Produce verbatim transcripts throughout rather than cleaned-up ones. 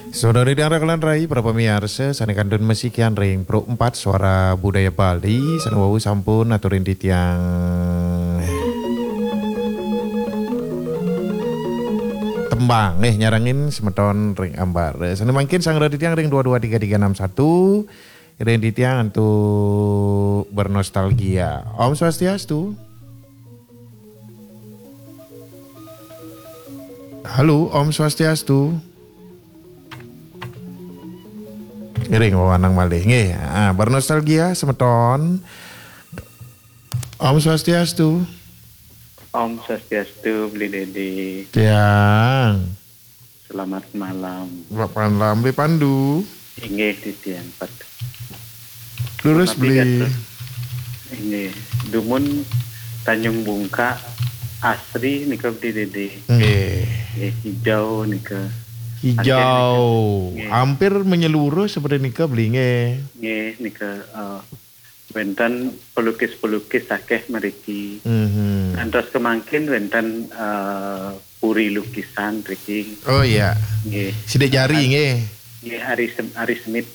Saudari dan rakan rai, para pamiarsa, sané kantun masikian ring Pro empat Suara Budaya Bali, sané wau sampun aturin titiang tembang, eh, nyarengin semeton ring ambar. Sané mangkin sangra titiang ring dua dua tiga tiga enam satu, ring titiang antu bernostalgia. Om Swastiastu. Halo, Om Swastiastu. Ngiring wawanang malih. Nggih, ah, bernostalgia semeton. Om Swastiastu. Om Swastiastu, Beli Dedi. Tiang. Selamat malam. Selamat malam, Beli Pandu. Inggih, titiang pat. Leres, Beli. Inggih, dumun Tanjung Bungka asri nika, Beli Dedi. Nggih. Nggih, hijau nika. Hijau. Nggih. Hampir menyeluruh seperti nika, Beli, nggih. Nggih, nika, eh, wénten pelukis-pelukis akéh mriki. Mhm. Ngantos kemangkin wénten, eh, puri lukisan mriki. Oh, iya. Nggih. Sidik jari, nggih. Nggih, Ari Sem-, Ari Semit.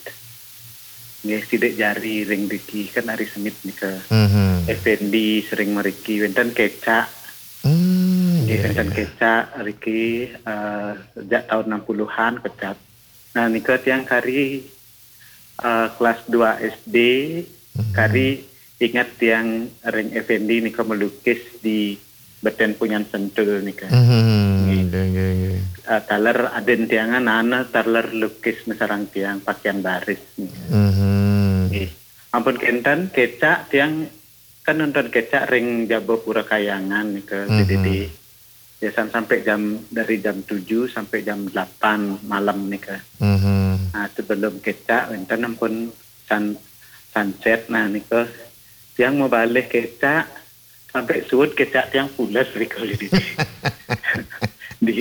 Nggih, sidik jari ring mriki kan Ari Semit nika. Mhm. Effendi sering mriki, wénten kecak. Hmm, nggih, iya, wénten iya. Kecak mriki, eh, sejak tahun enam puluhan kecak. Nah, nika tiang kari, eh, kelas dua S D, mhm, kari ingat tiang ring Effendi nika melukis di beten punyan sentul nika. Mhm, nggih, nggih, nggih. Eh, taler adin tiang nana taler lukis masareng tiang pakaian baris nika. Mhm. Nggih. Ampun kénten kecak tiang kan nonton kecak ring jaba Pura Kayangan nika, mhm, Beli Dedi. Biasan sampai jam, dari jam tujuh sampai jam delapan malam nika. Mhm. Nah, sebelum kecak wénten ampun sun-, sunset, nah nika tiang mabalih kecak sampai suud kecak tiang pules nika, Beli Dedi. Di,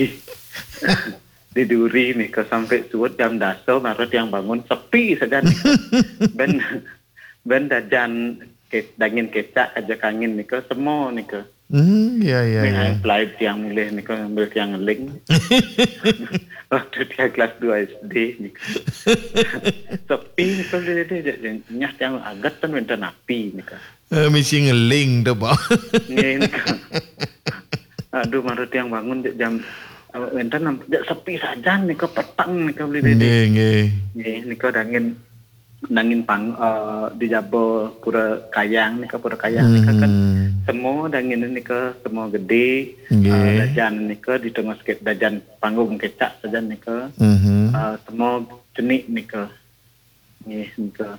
di duri nika sampai suud jam dasa baru tiang bangun, sepi saja nika. Ben, ben dajan ke-, dangin kecak aja kangin nika, semo nika. Hmm, iya, iya, iya. Pelai tiang mulih nika sambil tiang ngeling. Waktu tiang kelas dua S D nika. Sepi nika, Beli Dedi, nyah tiang aget kan wénten api nika. Eh, misi ngeling to, Pak. Nggih, nika. Aduh, mara tiang bangun jek jam, eh, wénten am-, jek sepi sajan nika, peteng nika, Beli Dedi. Nggih, nggih. Nggih, nika dangin, dangin pang-, eh, di jaba Pura Kayang nika, Pura Kayang nika kan, hmm, semo dangin nika, semo gedé, nggih, eh, dajan nika di tengah sikit dajan panggung kecak sajan nika. Mhm. Eh, semo cenik nika. Nggih, nika.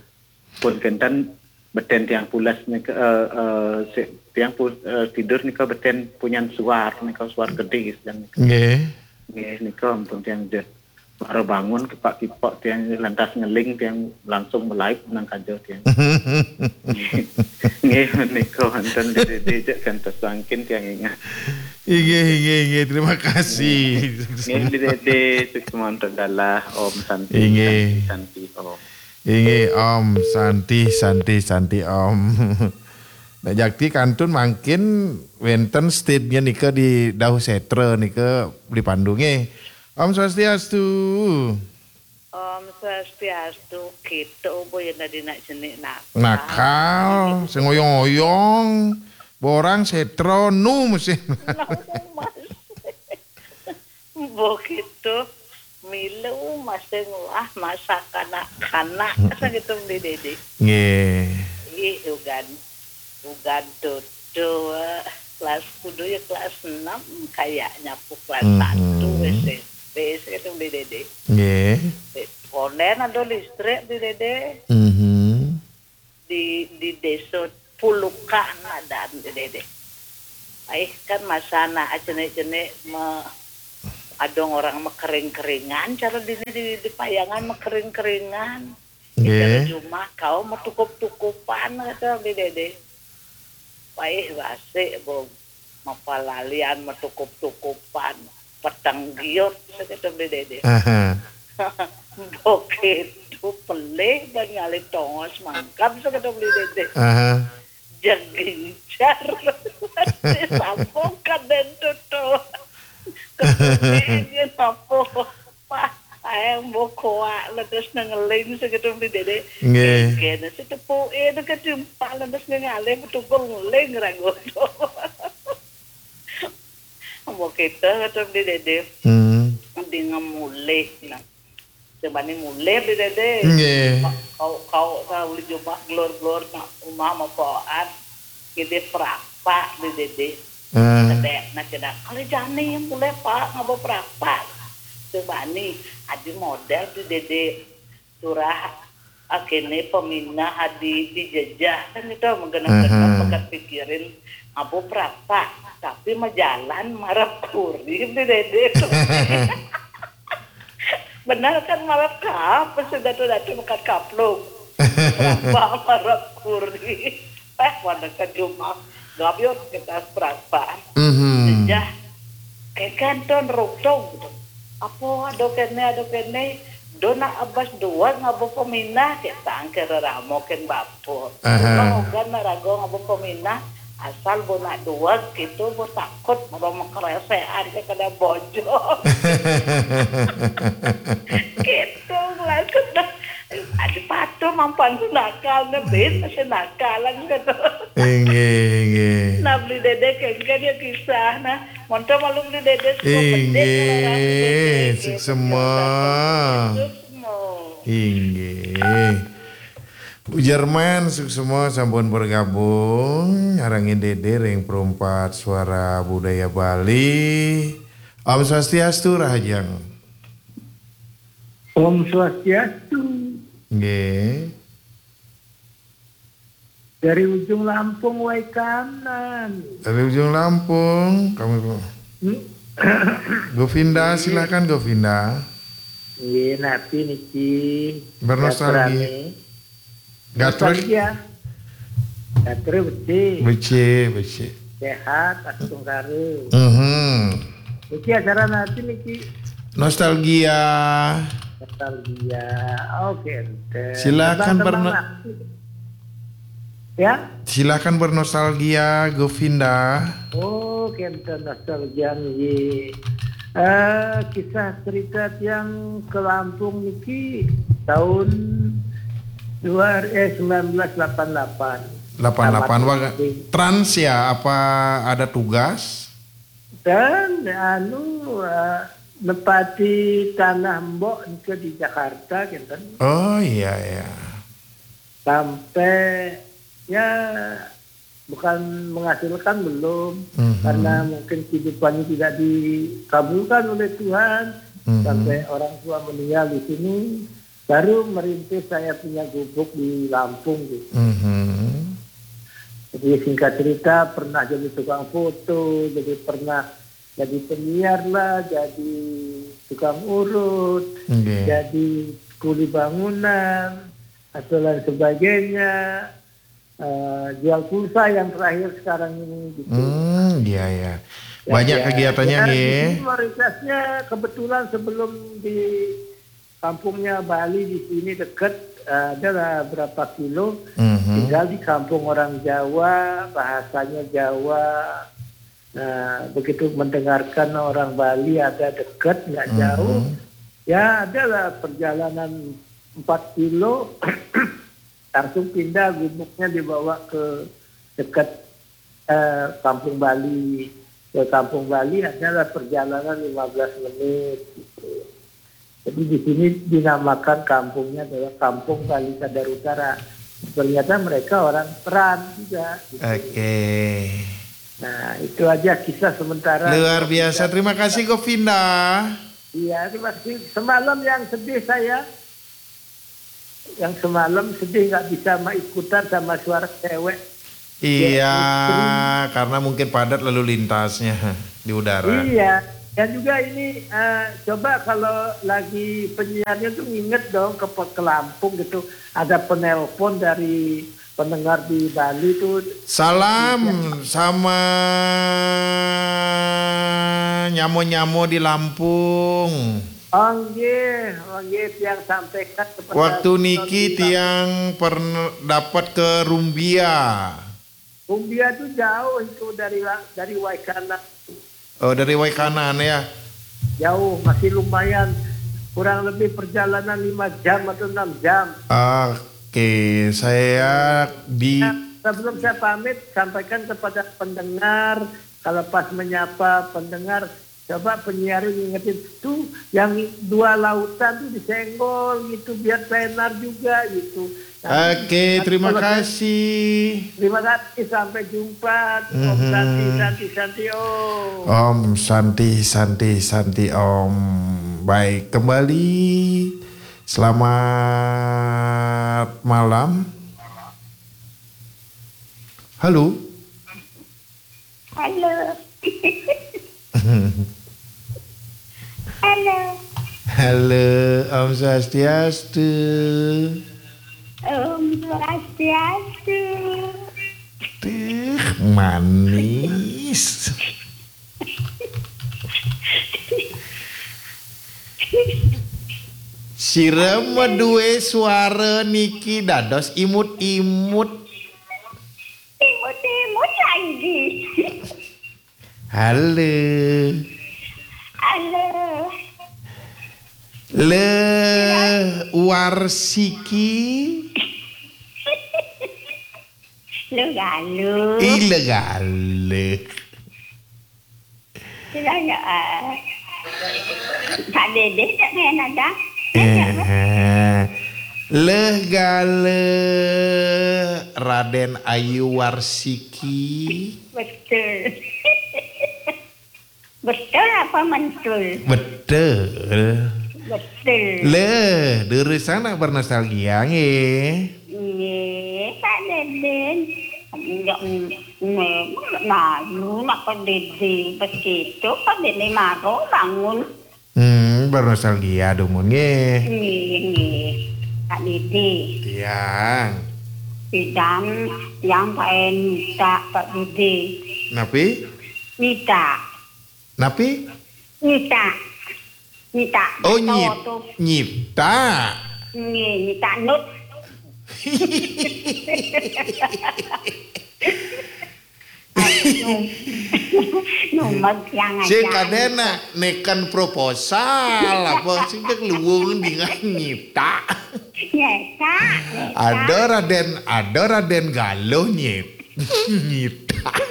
Pun kénten beten tiang pules nika, eh, eh, si-, tiang pu-, eh, tidur nika beten punyan suar nika, suar gedé sajan nika. Nggih. Nggih, nika ampun tiang jek. Baru bangun kepak-kipok tiang lantas ngeling tiang langsung malaib nang kaja tiang. Nggih, nika wénten Beli Dedi jek kantos mangkin tiang ingat. Inggih, inggih, inggih. Terima kasih. Nggih, Beli Dedi, sukses mantap dalah. Om Santi, inggih. Santi, Santi, Om. Inggih, Om. Santi, Santi, Santi, Om. Nah, jakti kantun mangkin wénten stage-nya nika di Dauh Setra nika Beli Pandu nggih. Om Swastiastu. Om Swastiastu, kita boya nadina cenik nakal. Nakal, sing oyong-oyong, borang setra nu mesti. Begitu, milu masih nguah masa kanak-kanak, hmm, sakitu, Beli Dedi. Nggih. Ih, ugan, ugan tutu, eh, kelas kudu ya kelas enam, kayaknya pu kelas, mhm, satu S M P, sakitu, Beli Dedi. Nggih. Eh, konden ada listrik, Beli Dedi. Mhm. Di, di desa Pulukan ada, Beli Dedi. Ai, kan masa anak cenik-cenik me-, ada orang mekering-keringan, cara dini di, di Payangan mekering-keringan. Nggih. Cara jumah kau metukup-tukupan, kata Beli Dedi. Ai, basik, Bung. Mapalalian, matukup-tukupan, peteng giut, sakitu Beli Dedi. Aha. Begitu pelih dan ngalih tongos mangkam, sakitu Beli Dedi. Aha. Jegincar. Disambung ka den tutu. Kemudian apa? Pak, Ayang bokoa ledes nengeling segitu di dede. Nggih. Kene si tepuke itu ketimpal ledes ngalih betul ngeling ragu. Ambo kita kata di dede. Hmm. Di ngemulih nah. Cuma ni mulih di dede. Nggih. Kau kau tahu jumah glor-glor nak rumah mapoan. Kita perapak di dede. Ah. Sedek nak kena. Kalau jani mulai pak ngabo perapak. Cuma ni adi model di dede. Surah akene peminah adi dijejah kan itu menggenap-genap. Aha. Pekat pikirin ngabo perapak tapi majalan marap kurir di dede tu. Benar kan marap kap sudah tu datu mekat kaplung. Perapak marap kurir. Eh, wana ke jumah. Gabiot kita perasaan. Mhm. Sejah. Kekan ton rutong gitu. Apa ada kene, ada kene. Do nak abas dua ngabo peminah kita angker ramo ken bapo. Aha. Cuma ogan nak rago ngabo peminah. Asal bo nak dua gitu bo takut bo mengkeresean ke kada bojong. Gitu langsung dah. Ada patuh mampan tu nakal ne bin masih nakalan gitu. Inggih, inggih. Nah beli dede kan dia kisah nah. Monto malu beli dede suka pedek. Inggih, suksema. Suksema. Inggih. Bu Jerman suksema sampun bergabung ngarangin dede ring perempat suara budaya Bali. Om Swastiastu Rahajeng. Om Swastiastu. Nggih. Dari ujung Lampung wai kanan. Dari ujung Lampung kami. Hmm. Govinda, silakan Govinda. Iya, napi niki. Bernostalgia. Gatrane. Gatrek. Nostalgia. Gatrek becik. Becik, becik. Sehat, asung karo. Mhm. Niki acara napi niki? Nostalgia. Nostalgia. Oke, ente. Silakan. Abang berno- kemana? Ya? Silakan bernostalgia, Govinda. Oh, kenten nostalgia nggih. Eh, kisah cerita tiang ke Lampung niki tahun dua, eh, sembilan belas lapan lapan. Lapan lapan. Tamat wah S D. Trans ya, apa ada tugas? Dan anu, eh, nepati tanah mbok nika di Jakarta, kenten. Oh, iya, iya. Sampai, ya, bukan menghasilkan, belum. Mhm. Karena mungkin kehidupannya tidak dikabulkan oleh Tuhan. Mhm. Sampai orang tua meninggal di sini, baru merintis saya punya gubuk di Lampung gitu. Mhm. Jadi singkat cerita, pernah jadi tukang foto, jadi pernah jadi penyiar lah, jadi tukang urut, nggih, jadi kuli bangunan, atau lain sebagainya, eh, jual pulsa yang terakhir sekarang ini gitu. Hmm, iya, iya. Ya, banyak ya, kegiatannya ya, nggih. Di sini mayoritasnya kebetulan sebelum di kampungnya Bali di sini dekat, eh, ada lah berapa kilo, mhm, tinggal di kampung orang Jawa, bahasanya Jawa. Nah, begitu mendengarkan orang Bali ada dekat, nggak jauh, mhm, ya adalah perjalanan empat kilo, langsung pindah gubuknya dibawa ke dekat, eh, Kampung Bali. Ke Kampung Bali adalah perjalanan lima belas menit gitu. Jadi di sini dinamakan kampungnya adalah Kampung Bali Sadar Utara. Ternyata mereka orang Peran juga gitu. Oke. Nah, itu aja kisah sementara. Luar biasa. Terima kasih, Govinda. Iya, terima kasih. Semalam yang sedih saya, yang semalam sedih nggak bisa ma-, ikutan sama suara cewek. Iya, ya, karena mungkin padat lalu lintasnya di udara. Iya, dan juga ini, eh, coba kalau lagi penyiarnya tuh nginget dong ke, ke Lampung gitu. Ada penelpon dari pendengar di Bali tuh. Salam sama nyamo-nyamo di Lampung. Oh, nggih, oh, nggih, tiang sampaikan kepada waktu niki penonton di tiang pern-, dapat ke Rumbia. Rumbia itu jauh itu dari la-, dari Waikana. Oh, dari Waikana ya. Jauh, masih lumayan kurang lebih perjalanan lima jam atau enam jam. Oke, saya di Nah, sebelum saya pamit, sampaikan kepada pendengar, kalau pas menyapa pendengar, coba penyiar ingetin, "Tuh, yang dua lautan tuh disenggol gitu, biar tenar juga," gitu. Nah, Oke, terima kalau saya kasih. Terima kasih, sampai jumpa. Om Santi, Mhm. Santi, Santi, Om. Om Santi, Santi, Santi, Om. Baik, kembali. Selamat malam. Halo. Halo. Halo. Halo, Om Swastiastu. Om Swastiastu. Teh, manis. Sira mah duwe suara niki dados imut-imut. Imut-imut lagi. Halo. Halo. Le Warsiki. Lu galuh. Ih, le galuh. Sila ya, ah. Pak Dede tak main ada. Eh, leh gale Raden Ayu Warsiki. Betul. Betul apa mentul? Betul. Betul. Leh, durus anak bernostalgia nggih. Nggih, Pak Deden. Enggak, mm, mm, malu nak Pak Dede. Begitu Pak Dede maro bangun. Hmm, bernostalgia dumun nggih. Nggih, nggih. Pak Dede. Iya. Pidan yang paen nyitak, Pak Dede. Napi? Nyitak. Napi? Nyitak. Nyitak. Oh, bato nyit-, tu. Nyitak. Nggih, nyitak nut. Numbag yang sing aja. Kadena neken proposal apa sing dek luwung dengan nyitak. Nyitak, nyitak. Ada Raden, ada Raden Galuh nyit-, nyitak.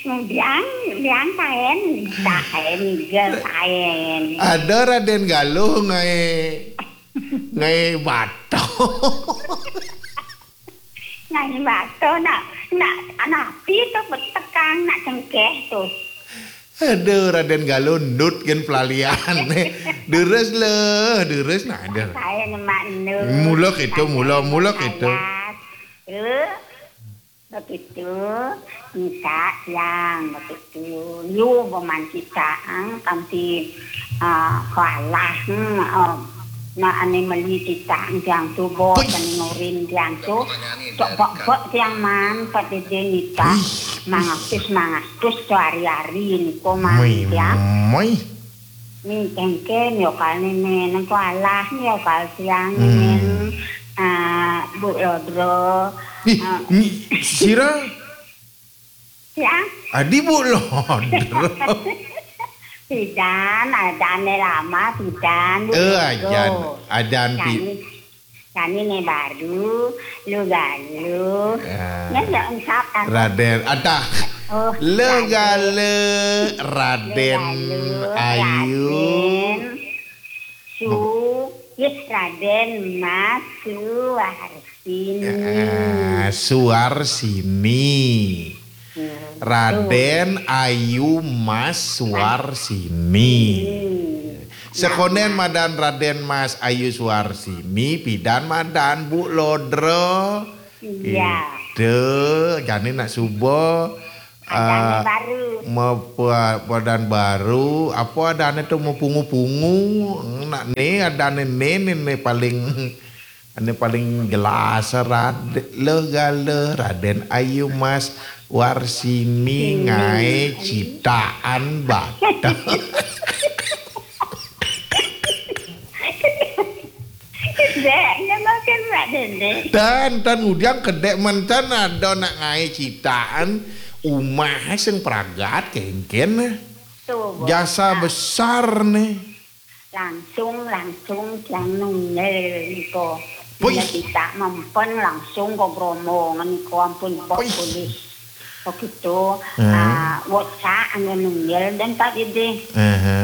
Biang, biang kaen, kaen, kaen. Ada Raden Galuh ngae, ngae bato. Ngae bato, nak, nak, napi tu betekang, nak cengkeh tu. Aduh, Raden Galuh nut gen pelalian. Deres le, deres nah, der. Saya nyemak nut. Mula itu, mula, mula itu. Eh, begitu, minta yang begitu. Yu beman kita, ah, kanti, ah, kalah, hmm, ah, na ane meli kita yang tu bos, ane ngorin yang tu, cok bok-bok yang man, Pak Dede nita, mangatus, mangatus tu hari-hari ni ko man yang. Moi. Ni kengken yo kal ni men, ko alah ni yo kal siang ni men. Ah, Bu Lodro. Ih, ah. Ni sira? Ya. Adi Bu Lodro. Pidan, adane lama, pidan, Bu Lodro. Eh, ajan, ajan pi- Kami, kami ne baru, lu galuh. Ya. Nya enggak ungkap kan? Raden, adah. Oh, le galuh. Galuh, Raden Ayu. Raden Su, yes, Raden Mas Suar. Sini. Ah, Suarsini. Hmm, Raden Ayu Mas Suarsini. Hmm. Sekonden madan Raden Mas Ayu Suarsini, pidan madan Bu Lodro. Iya. Itu, jani nak suba. Adane, ah, baru. Mau pa-, padan baru, apa adane tu mau pungu-pungu. Nak ni adane ni, ni, ni paling, ni paling jelas, Rad-, le gale Raden Ayu Mas Warsini ngae citaan bato. Dek, nyelokin Pak Dede. Dan, dan ngudiang kedek mentan ada nak ngae citaan umah sing pragat kengken. Tuh, jasa besar nih. Langsung, langsung tiang nunggil niko. Wih. Nunggil kita mempen langsung ke Bromo niko, ampun, bok Wih. Polis. Begitu, Hmm. ah, WhatsApp anu nunggil dan Pak Dede. Aha.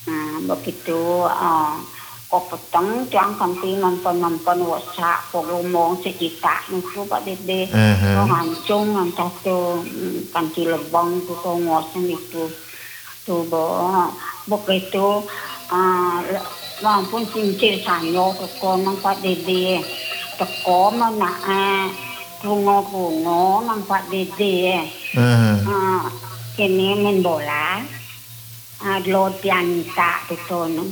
Nah, begitu, ah, ko peteng tiang kanti mempen-mempen WhatsApp, ko ngomong si kita niku, Pak Dede. Aha. Ko ngancung ngantah tu, mm, kanti lebang tu ko ngoseng itu. Tu, bo, begitu, ah, le-, ampun, sincir sanyo teko nang Pak Dede. Teko menak, eh, bungo-bungo nang Pak Dede. Hmm. Ah, kini main bola. Ah, lo tiang tak betul.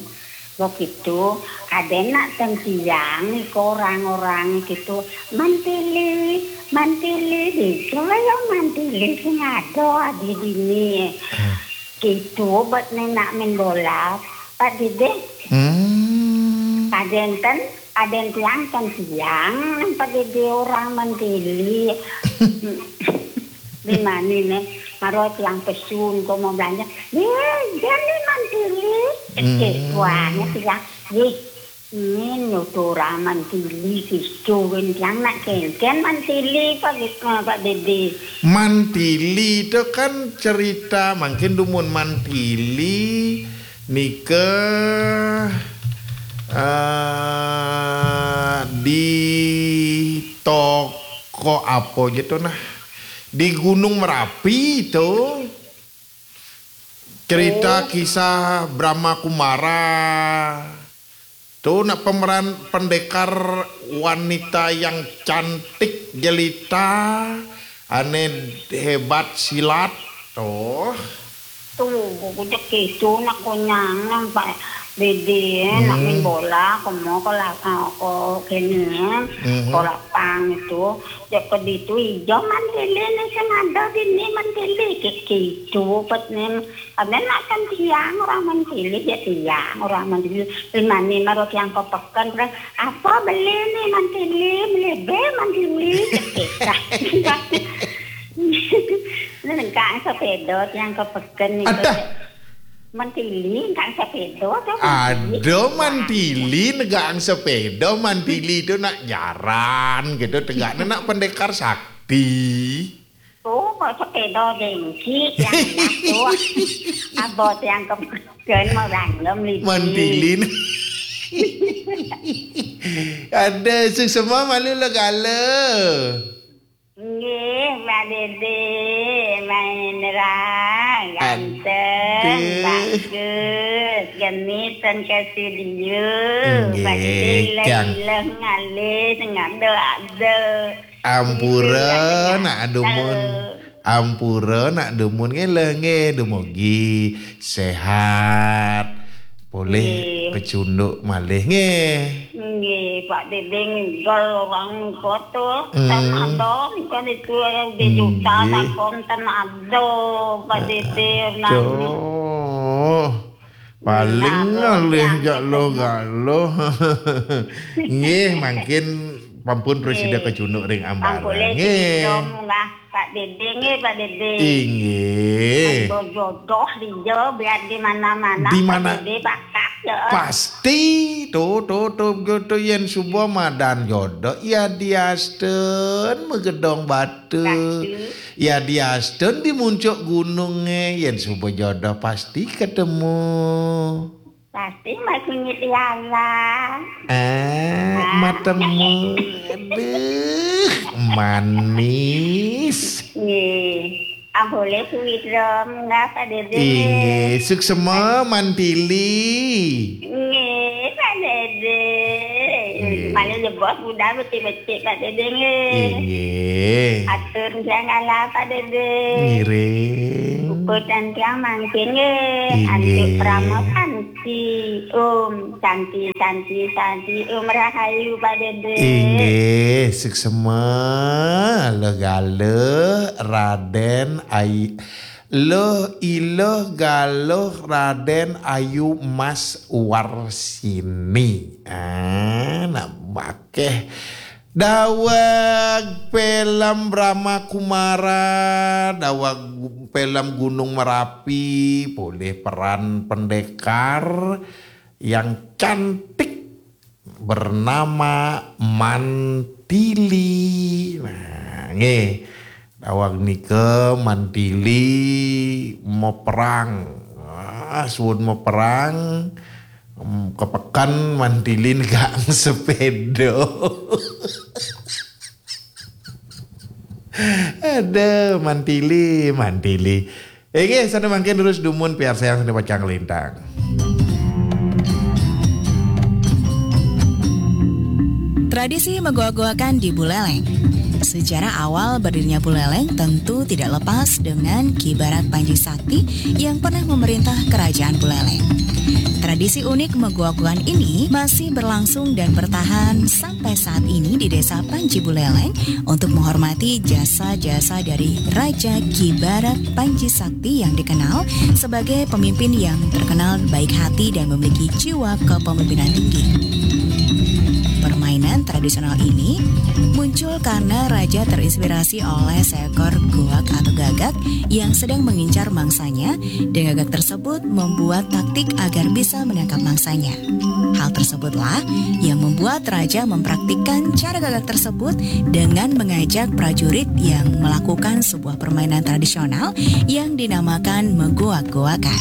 Begitu, ada nak tentiang ke orang-orang gitu. Mantili, mantili, di yo mantili sing ada di dini. Hmm. Gitu, buat nenak main bola, Pak Dede. Hmm. Ada enten, ada yang tiang kan tiang, Pak Dede orang mantili. Di mana nih? Maro tiang pesun, ko mau belanja. Ye, jadi mantili. Hmm. Oke, tuanya tiang. Ye, ini lo tu orang mantili, gitu, kan tiang nak kenten mantili, Pak Ge-, eh, Pak Dede. Mantili tu kan cerita, mungkin dumun mantili, nika, eh, di toko apa je tu nah? Di Gunung Merapi tu. Cerita Oh. kisah Brahma Kumara. Tu nak pemeran pendekar wanita yang cantik jelita, ane hebat silat. Tu. Tu, kujak itu nak konyang nang Pak Dede, nak Hmm. main bola, ko mau ko la-, eh, ko kene, Mhm. ko lapang itu. Cek ke ditu, ijo mantili ni sing ada dini mantili, ki-, gitu, pet ni. Ada nak kan tiang orang mantili, ya tiang orang mantili. Di mana maro tiang ke peken, bilang, "Apa beli ni mantili, beli be mantili." Cek kita. Ni lengkap sepeda tiang ke peken ni. Ada. Mantili, engkak sepeda tu. Ada mantili, negang sepeda, mantili tu nak jaran gitu, tegaknya nak pendekar sakti. Oh, kok sepeda gengsi, yang enak tu. Abot yang kemudian mau random lagi. Mantili. Ada, sing semua malu lah gala. Nggih, Mbak Dede, main ra, ganteng, Aduh. bagus, genit, ten ke studio. Nggih, Mbak Dede, Kang. Ileng-ileng, ngalih, ngado-ado. Ampura, Gitu, nak dumun. Ampura, nak dumun, nggih, leh, nggih, dumugi sehat. Boleh Nggih. kecunduk malih, nggih. Nggih, Pak Dede ninggal orang kota, Hmm. ten ada, kan itu di juta Nggih. takon ten ada, Pak Dede, nang Aduh. Paling Nah, ngalih ya, jak lo itu. galo. Nggih, mangkin pampun presida Nggih. kecunduk ring ambaran. Pampun Nggih. Dong lah, Pak Dede, nggih, Pak Dede. Inggih. Aduh, jodoh dia biar di mana-mana, Di mana? Pak Dede, bakat, ya. Pasti, tu, tu, tu, tu, yen suba madan jodoh, ya diasten magedong batu. Batu. Ya diasten di muncuk gununge, yen suba jodoh pasti ketemu. Pasti masih ngiti Allah. Eh, Ah. matemu. Aduh, manis. Nggih. Ah, boleh suwidrom, nggih, Pak Dede. Inggih, suksema mantili. Nggih, Pak Dede. Nggih. Mane nyebut muda becik-becik, Pak Dede, nggih. Inggih. Atur tiang ala, Pak Dede. Ngiring. Ukur dan tiang mangkin, nggih. Inggih. Antuk Prama Santi. Om Santi, Santi, Santi. Om Rahayu, Pak Dede. Inggih, suksema, legaluh, Raden Ai-, Luh Iluh Galuh Raden Ayu Mas Warsini. Ah, nak bakeh. Daweg film Brahma Kumara, daweg film Gunung Merapi, polih peran pendekar, yang cantik bernama Mantili. Nah, nggih. Daweg nika Mantili meperang. Ah, suud meperang. Em, kepeken Mantili negang sepeda. Aduh, Mantili, Mantili. Oke, sana mangkin terus dumun piarsayang sana pacang lintang. Tradisi megoak-goakan di Buleleng. Sejarah awal berdirinya Buleleng tentu tidak lepas dengan Ki Barat Panji Sakti yang pernah memerintah Kerajaan Buleleng. Tradisi unik megoak-goakan ini masih berlangsung dan bertahan sampai saat ini di Desa Panji Buleleng untuk menghormati jasa-jasa dari Raja Ki Barat Panji Sakti yang dikenal sebagai pemimpin yang terkenal baik hati dan memiliki jiwa kepemimpinan tinggi. Permainan tradisional ini muncul karena raja terinspirasi oleh seekor goak atau gagak yang sedang mengincar mangsanya, dan gagak tersebut membuat taktik agar bisa menangkap mangsanya. Hal tersebutlah yang membuat raja mempraktikkan cara gagak tersebut dengan mengajak prajurit yang melakukan sebuah permainan tradisional yang dinamakan megoak-goakan.